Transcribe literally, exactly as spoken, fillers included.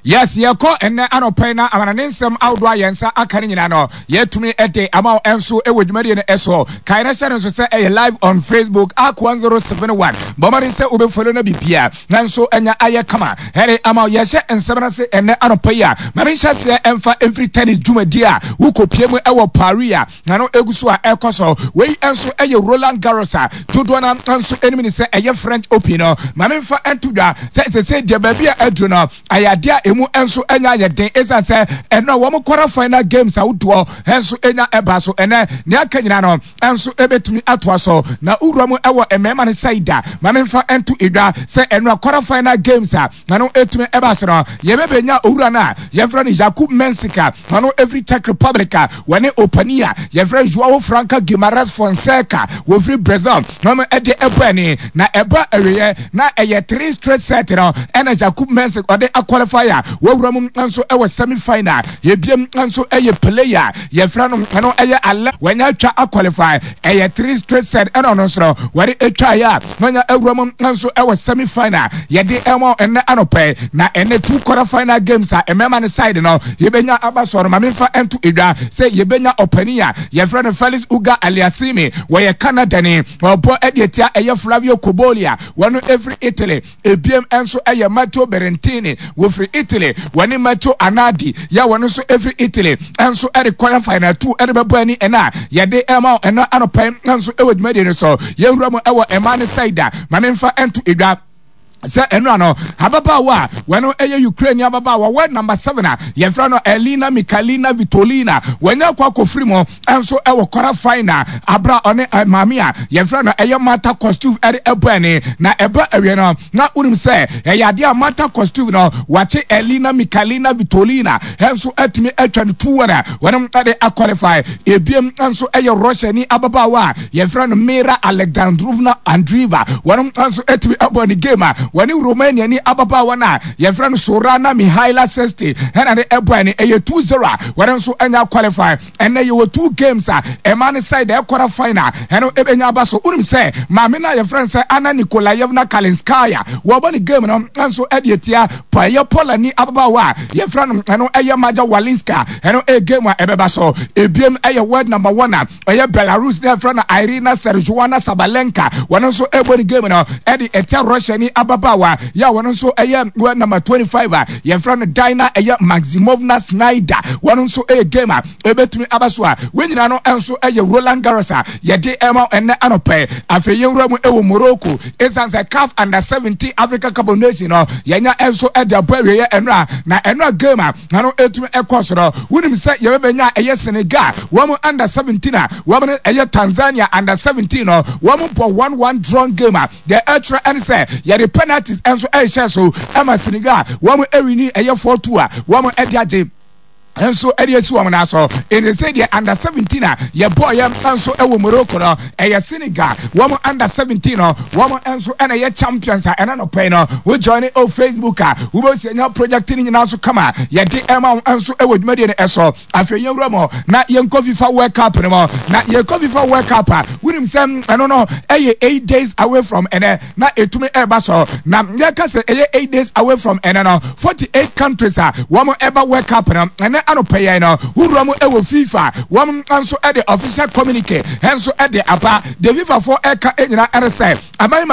Yes, yɛkɔ ɛnɛ anɔpɛ na amanane nsɛm ahodoɔ a yɛn nsa aka no nyinaa no, yɛtumi de ama wo nso wɔ dwumadie no ɛso. Kae no hyɛ no nso sɛ ɛyɛ live on Facebook, Ark one zero seven one. Bɔmmɔden sɛ wobɛfollow no bibia nanso ɛnya ayɛ kama ɛde ama wo. Yɛhyɛ nsɛm no ase ɛnɛ anɔpɛ yi a, ma menhyɛ aseɛ ɛmfa ɛmfiri tennis dwumadie a wokɔpie mu ɛwɔ Paris a na no ɛgu so a ɛkɔ so. Wei nso ɛyɛ Roland Garros a dodoɔ no nso anim ne sɛ ɛyɛ French Open no. Ma memfa ɛnto dwa sɛ sɛsɛ deɛ, baabi a aduru no, ayɛ adeɛ a emu nso anya ayɛ den, ɛsiane sɛ ɛno a wɔn quarter final games ahodoɔ nso anya ɛba so. Ɛnɛ nea aka nyinaa no nso ɛbɛtumi atoa so. Na wura mu ɛwɔ mmarima no side a, ma memfa ɛnto edwa sɛ ɛno a quarter final games a na no ɛtumi ɛba so no, yɛbɛbɛnya owura no a yɛfrɛ no Jakub Mensik a ɔno ɛfiri Czech Republic a wɔne opani a yɛfrɛ Joao Franca Guimaras Fonseca wɔfiri Brazil na wɔn ɛde ɛbɔ ani. Na ɛba awieɛ na ɛyɛ three straight set no ɛna Jakub Mensik ɔde aqualify a wɔwura mu nso ɛwɔ semi final. Yɛbiem nso ɛyɛ player yɛfrɛ no, ɛno ɛyɛ alɛ, wɔnya atwa aqualify. Ɛyɛ three straight set ɛna ɔno nso no wɔde atwa yɛ a wɔnya awura mu nso ɛwɔ semi final. Yɛde ɛmɔ ɛnɛ anɔpɛ na ɛnɛ two quarter final games a mmarima no side no yɛbɛnya aba sɔrɔ. Maame nfa ɛnto edwa sɛ yɛbɛnya ɔpanin a yɛfrɛ no Felix Auger Aliassime, wɔyɛ Canada ni, ɔbɔ ɛde etia ɛyɛ Flavio Cobolli a wɔn efiri Italy. Ebiem nso ɛyɛ Matteo Berrettini, wɔfiri Italy, wɔne Matteo Arnaldi yɛ wɔn nso efiri Italy nso ɛde quarter final two ɛde bɛbɔ ani. Ɛna yɛde ɛma ɛna anɔpɛ nso ɛwɔ dwumadie no so. Yɛwura mu ɛwɔ ɛmaa ne side a, maame nfa ɛnto edwa sɛ ɛno ano ababaawa a wɔno ɛyɛ Ukraine ababaawa, world number seven a yɛfrɛ no Elina Mikhalina Svitolina, wɔnyɛ akɔ akɔfiri mu ɛnso ɛwɔ quarter final abra ɔne maame a yɛfrɛ no ɛyɛ Marta Kostyuk ɛde ɛbɔ ani. Na ɛbɔ awie no na wonim sɛ ɛyɛ adeɛ a Marta Kostyuk no wakye Elina Mikhalina Svitolina ɛnso atumi atwa no two one a wɔnom ɛde aqualify. Ebiem nso ɛyɛ Russia ni ababaawa a yɛfrɛ no Mira Alexandrovna Andreeva, wɔnom nso atumi ɛbɔ ne game a wɔne Romania ni ababaawa no a yɛfrɛ no Sorana Mihaela Sesti ɛna ne ɛbɔ ani. Ɛyɛ two zero a wɔne nso anya qualify. Ɛnɛ yɛwɔ two games a ɛma ne side ɛkɔra final ɛno ɛbɛnya aba so. Wonim sɛ maame no a yɛfrɛ no sɛ Anna Nikolayevna Kalinskaya, wɔbɔ ne game no nso ɛde atia ɛyɛ Polani ababaawa a yɛfrɛ no ɛno ɛyɛ Maja Walinska. Ɛno ɛyɛ game a ɛbɛba so. Ebiem ɛyɛ world number one a ɛyɛ Belarus ne yɛfrɛ no Aryna Saryzhana Sabalenka, wɔn nso ɛbɔ ne game no ɛde ɛtia Russia ni ababaawa yɛ a wɔn nso ɛyɛ world number twenty five a yɛfrɛ no Dina ɛyɛ Maximovna Snyder. Wɔn nso ɛyɛ game a ɛbɛtumi aba so a wɔn nyinaa no nso ɛyɛ Roland Garros a yɛde ɛma ɛnɛ anɔpɛ. Afei yɛwura mu ɛwɔ Morocco, ɛsiane sɛ CAF Under seventeen Africa Cup of Nation no yɛnya nso ɛde abɔ awieɛ ɛnora. Na ɛnora game a na ɛtumi ɛkɔ so no, wonim sɛ yɛbɛbɛnya ɛyɛ Senegal wɔn under seventeen a wɔn no ɛyɛ Tanzania under seventeen no, wɔn bɔ one one drawn game a deɛ ɛkyerɛ ɛne sɛ yɛde penalties nso ɛrehyɛ so ɛma Senegal wɔn ɛwin ɛyɛ four two a wɔn ɛde agye nso ɛde esi wɔn nan so. Ɛnna sɛ deɛ under seventeen a yɛbɔ yɛ nso ɛwɔ Morocco no, ɛyɛ Senegal wɔn under seventeen no, wɔn nso ɛna ɛyɛ champions a ɛna nɔpɛ no. Wo join o Facebook a, wobɛsi anya project no nyinaa nso kama yɛde ɛma wɔn nso ɛwɔ dwumadie no ɛso. Afei yɛn wura mu na yɛnkɔ FIFA World Cup no mu. Na yɛkɔ FIFA World Cup a, wonim sɛ ɛno no ɛyɛ eight days away from ɛnɛ na ɛtumi ɛba so. Na yɛka sɛ ɛyɛ eight days away from ɛnɛ no, forty eight countries a wɔn ɛba World Cup no, ɛnɛ anɔpɛ yɛn no, wura mu ɛwɔ FIFA, wɔn nso ɛde official communique ɛnso ɛde aba. De FIFA foɔ ɛka ɛnyina ɛne sɛ aman